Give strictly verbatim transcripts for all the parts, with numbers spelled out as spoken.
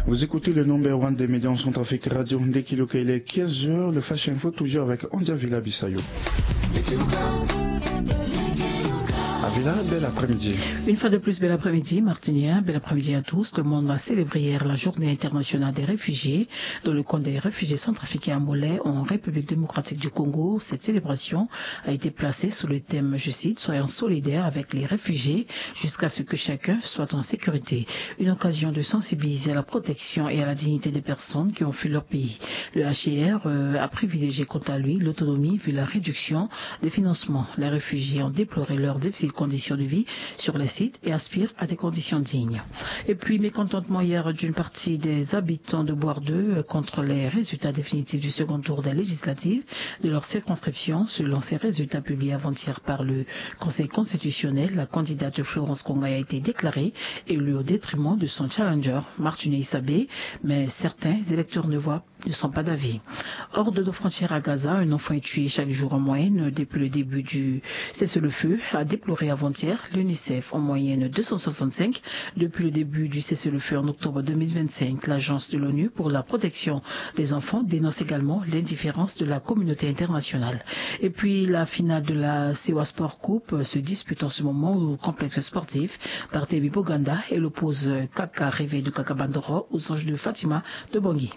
Vous écoutez le number one des médias en Centrafrique Radio. Ndekiluka, il est quinze heures. Le Flash Info, toujours avec Andia Villa Bissayo. Avila, bel après-midi. Une fois de plus, bel après-midi, Martiniens. Bel après-midi à tous. Le monde a célébré hier la journée internationale des réfugiés. Dans le camp des réfugiés centrafricains à Mollet, en République démocratique du Congo, cette célébration a été placée sous le thème, je cite, « Soyons solidaires avec les réfugiés jusqu'à ce que chacun soit en sécurité ». Une occasion de sensibiliser à la protection et à la dignité des personnes qui ont fui leur pays. Le H C R, euh, a privilégié quant à lui l'autonomie vu la réduction des financements. Les réfugiés ont déploré leurs difficiles conditions de vie sur les sites et aspirent à des conditions dignes. Et puis, mécontentement hier d'une partie des habitants de Bouardeux, euh, contre les résultats définitifs du second tour des législatives de leur circonscription. Selon ces résultats publiés avant-hier par le Conseil constitutionnel, la candidate Florence Kongaï a été déclarée élue au détriment de son challenger, Martine Isabé, mais certains électeurs ne voient ne sont pas d'avis. Hors de nos frontières à Gaza, un enfant est tué chaque jour en moyenne depuis le début du cessez-le-feu, a déploré avant-hier l'UNICEF. En moyenne, deux cent soixante-cinq depuis le début du cessez-le-feu en octobre deux mille vingt-cinq. L'Agence de l'ONU pour la protection des enfants dénonce également l'indifférence de la communauté internationale. Et puis, la finale de la Sewa Sport Coupe se dispute en ce moment au complexe sportif Barthélémy Boganda. Elle oppose Kaka Rêvé de Kaka Bandoro aux anges de Fatima de Bangui.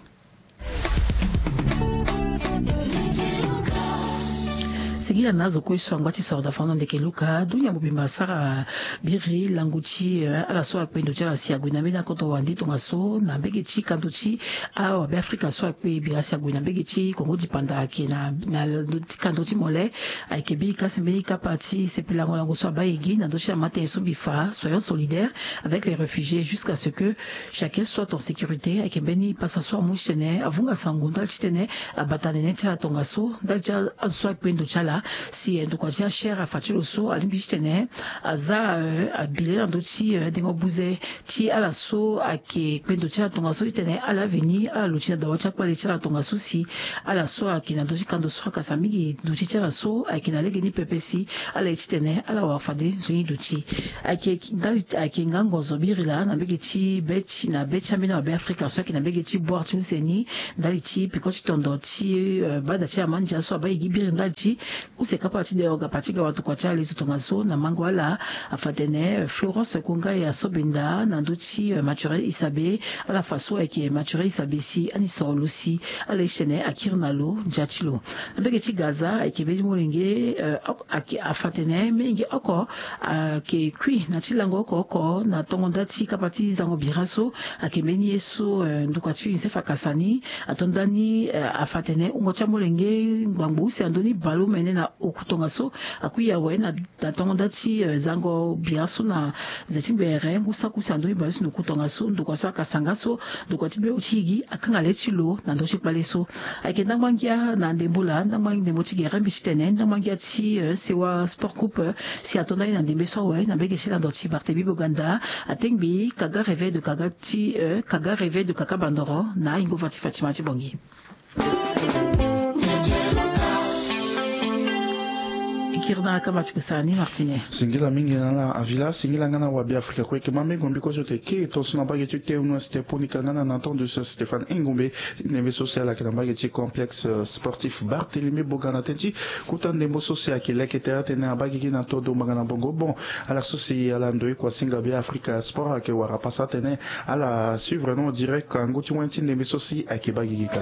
Singila na azo kue so angba ti soro da fano ndeke Luka, dunia mobimba asara biri lango ti, eh, ala so akpe ndo ti ala si ague na mbeni akoto wande tongaso na mbege ti kando ti awabe Afrika so akpe biri asi ague na mbege ti Kongo dipanda ayeke na, na ndo ti kando ti Mollet, ayeke biri kasi mbeni kapa ti sepelango lango so abaa e gi na ndö ti amata nyen so mbi fa, soyons solidaires avec les réfugiés jusqu'à ce que chacun soit en sécurité. Ayeke mbeni pasa so amu titene avunga sango ndali titene abata nene ti ala tongaso ndali ti azo so akpe ndo ti ala. Si, eh, ndokua ti H C R afa ti lo so alingbi titene aza, eh, abele na ndö ti, eh, dengo buze ti ala so ayeke kpe ndo ti ala tongaso titene ala veni ala luti na dawa ti akpale ti ala tongaso si ala so ayeke na ndö ti kando so akasa mingi duti ti ala so ayeke na lege ni pepe si ala ye titene ala wara fade nzoni duti. Ayeke ndali ayeke ngango zo biri laa na mbege ti be ti na be ti ambeni awabe Afrika so ayeke na mbege ti bwar ti use ni ndali ti peko ti tondo ti, eh, bada ti amandia so abaa e gi biri ndali ti use kapa ti de oga pa ti ga watokua ti ala lezo tongaso na mango ala. Afa atene, eh, Florence Kongaï asobenda na ndö ti, eh, Mathurin Isabé. Ala fa so ayeke Mathurin Isabé si ani soro lo si ala ye titene akiri na lo ndia ti lo. Na mbege ti Gaza ayeke mbeni molenge, eh, oko, ayeke afa atene mingi oko ayeke kui na ti lango oko oko na tongo nda ti kapa ti zango bira so ayeke mbeni ye so, eh, ndokua ti UNICEF akasa ni ato ndani, eh, afa atene wungo ti amolenge ngbangbo use ando ni bale omene na oku tongaso akui awe na na tongo nda ti, eh, zango bira so na ze ti ngbere ngu saki use ando ni bale so na oku tongaso ndokua so akasa nga so ndokua ti be oti gi akanga le ti lo na ndö ti kpale so. Ayeke ndangba ngia na ndembo laa ndangba ndembo ti gere mbi titene ndangba ngia ti, eh, Sewa Sport Coupe, eh, si ato ndani na ndembe so awe na mbege ti lando ti Barthélémy Boganda atengbi Kaga Rêvé de Kaga ti, eh, Kaga Rêvé de Kaka Bandoro na ahingo fa ti Fatima ti Bongi. E kiri na kama ti kusala ni Martine. Singila mingi na ala Avila, singila nga na wabe Afrika kue. E yeke ma mengo mbi kue so tene e ke e tongaso na mbage ti T M Ouest, e ponika nga na na temps de Stéphane Engombe. Ndembe so si ala yeke na mbage ti complexe, euh, sportif Barthélémy Boganda tënë ti kota ndembo so si ayeke leke tere atene abaa gigi na todo mbanga na bongo. Bon, ala so si ala ndoye kua singa be Afrika Sport ayeke wara pasa atene ala suivre na en direct angu ti wen ti ndembe so si ayeke baa gigi kâ.